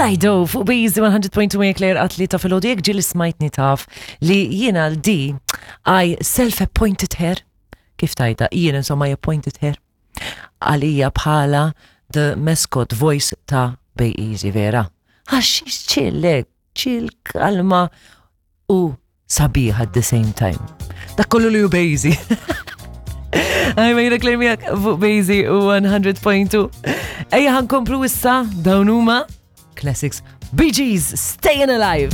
Dido fuq Beezy 100.2 Claire għatli ta' filgħodu jekk ġieli smajtni taf li jiena l-D I self-appointed her. Kif tajta? Jien insomma I appointed her. Għalija bħala the mascot voice ta' Bay Easy vera. Għax chill, chill, kalma u sabiħ at the same time. Dak kollu li hu Bejzi. Għaj, ma jina klermijak fuq Bejzi u 100.2. Ejja ħankomplu issa dawn huma Classics Bee Gees, Staying Alive.